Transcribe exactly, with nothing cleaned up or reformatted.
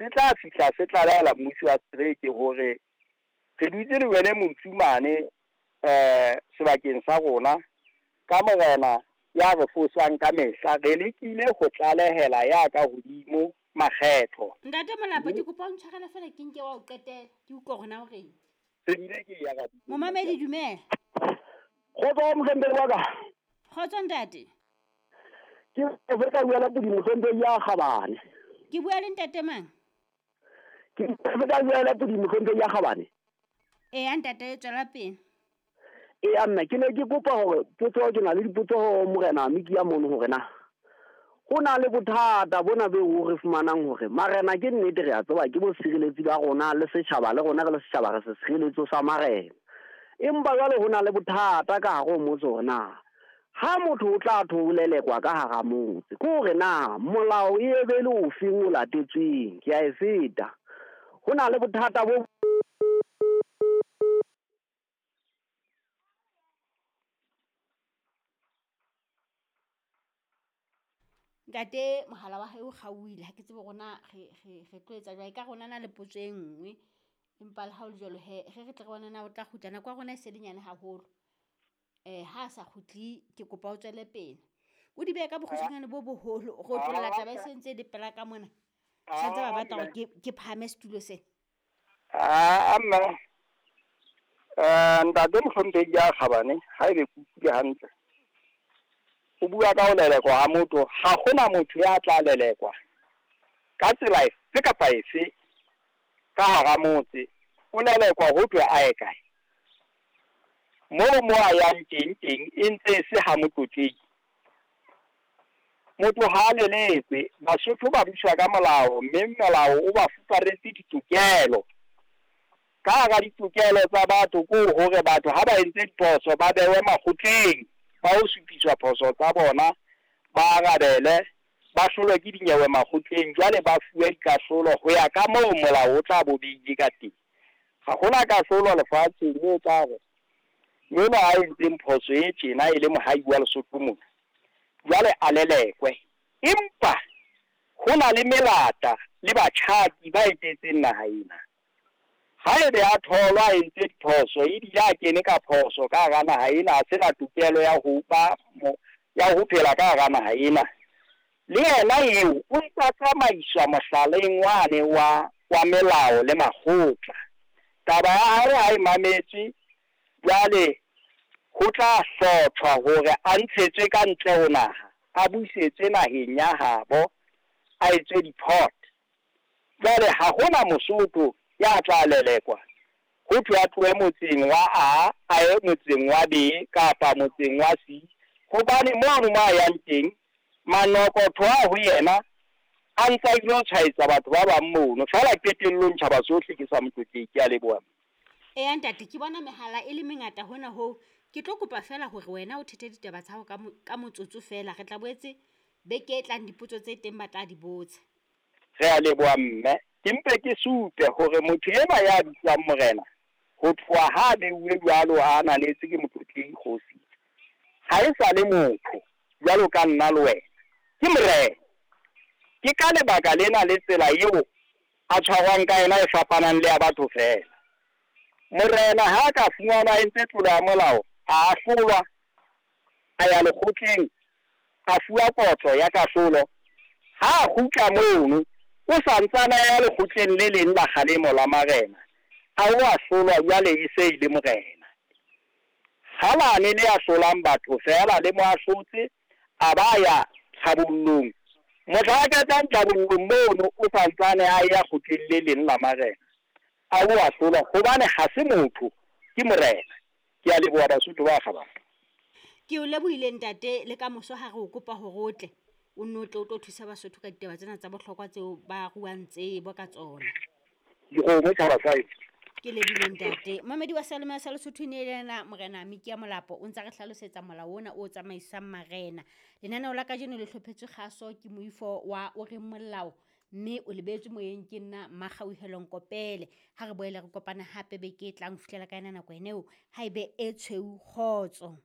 se tla fihla se tlalehela mmusi wa setereke hore re dutse le wele motsu mane eh sebakeng sa rona ka morena ya re fosang ka mehla, re lekile ho tlalehela ya ka hodimo makgetho. Ntate Molapo, ke kopa o ntshwarele fela ke nke wa o qetela, ke utlwe hore na o reng. Se bile ke ya ka. Momamedi dumela. Kgotso mohlomphehi wa ka. Kgotso ntate. Ke ka bua le podi mohlomphehi ya Kgabane. Ke bua le ntate mang? Ke ka bua le podi mohlomphehi ya Kgabane. Eya ntate, tswela pele. Eya mme ke ne ke kopa hore potso, ke na le dipotso ho morena Mikia mono hore na ho na le bothata bona bo re fumanang hore marena ke nnete re a tseba ke bo sireletsi ba rona le setjhaba, le rona re le setjhaba re se sireletso sa marena. Empa jwale ho na le bothata ka hare ho motse hore na ha motho o tla tholelekwa ka hara motse, ke hore na molao e be le ofeng o latetsweng. Ke a e feta. Ho na le bothata bo Ntate, mohala wa hae o kgaohile, ha ke tsebe rona re re re tlo etsa jwang. Ka rona na le potso e nngwe, empa le ha o le jwalo he re re tle re bone na o tla kgutla. Nako ya rona e se le nyane haholo. Eh ha a sa kgutle ke kopa o tswele pele. O di behe ka bokgutshwanyane bo boholo, re otlolla taba e sentse e le pela ka mona. Santse ba batla hore ke ke phahame setulo sena. Ah mme eh ntate mohlomphehi ya Kgabane, ha ebe ke utlwile hantle, o bua ka ho lelekwa ha motho. Ha hona motho ya tla lelekwa ka tsela efe kapa efe ka hara motse. O lelekwa ho thwe a ye kae? Moo mo a yang teng teng e ntse e se ha motlotlehi. Motho ha a lelekwe. Basotho ba buswa ka molao, mme molao o ba fuparetse ditokelo. Ka hara ditokelo tsa batho ke hore batho ha ba entse diphoso ba bewe makgotleng, ba ho supiswa phoso tsa bona, ba arabele, ba hlolwe ke dinyewe makgotleng, jwale ba fuwe dikahlolo ho ya ka moo molao o tla bo beile ka teng. Ha hona kahlolo lefatsheng e tla re enwa a entseng phoso e tjena e le mohai wa Lesotho mona, jwale a lelekwe. Empa ho na le melata le batjhaki ba etetseng naha ena. Haebe a tholwa a entse diphoso ebile a kene ka phoso ka hara naha ena, a sena tokelo ya ho ba ya ho phela ka hara naha ena, le yena eo o ntsa tsamaiswa mohlaleng wane wa wa melao le makgotla. Taba ya hae ha e mametswe, jwale ho tla hlotjhwa hore a ntshetswe ka ntle ho naha, a busetswe naheng ya habo, a etswe deport. Jwale ha hona Mosotho ya tla lelekwa ho thwe a tlohe motseng wa A a ye motseng wa B kapa motseng wa C, hobane mono mo a yang teng manokotho a ho yena a ntsa ilo tshwaetsa batho ba bang mono. Feela qetellong tjhaba sohle ke sa motlotlehi. Ke a leboha. Eya ntate, ke bona mehala e le mengata hona hoo. Ke tlo kopa fela hore wena o thethe ditaba tsa hao ka motsotso fela. Re tla boetse beke e tlang dipotso tse teng ba tla di botsa. Re a leboha mme. Ke mpe ke supe hore motho enwa ya bitswang morena, ho tloha ha beuwe jwalo a ananetse ke motlotlehi kgosi, ha e sa le motho jwalo ka nna le wena, ke morena. Ke ka lebaka lena le tsela eo a tshwarwang ka yona e fapanang le ya batho fela. Morena ha ka fumanwa a entse tlolo ya molao, a ahlolwa, a ya lekgotleng, a fuwa kotlo ya kahlolo. Ha a kgutla mono, o santsane a ya lekgotleng le leng la kgalemo la marena, a o ahlolwa jwale e se e le morena. Ha lane le ahlolang batho fela le mo ahlotse, a ba ya tlhabollong. Mohla a qetang tlhabollong mono, o santsane a ya kgotleng le leng la marena, a o ahlolwa hobane ha se motho, ke morena. Ke a leboha Basotho ba Kgabane. Ke o lebohile ntate, le ka moso ha re o kopa hore o tle o nno tle o tlo thusa Basotho ka ditaba tsena tsa bohlokwa tseo ba ruang tsebo ka tsona. Dikgomo tjhaba sa heso. Ke lebohile ntate. Momamedi wa Seyalemoya sa Lesotho e ne e le yena morena Mikia Molapo, o ntsa re hlalosetsa molao ona o tsamaisang marena. Lenaneo la kajeno le hlophetswe kgaso ke moifo wa o reng molao, mme o lebetswe moyeng ke nna Makgauhelo Nkopele. Ha re boele re kopana hape beke e tlang ho fihlela ka yona nako eneo, ha ebe e tshweu kgotso.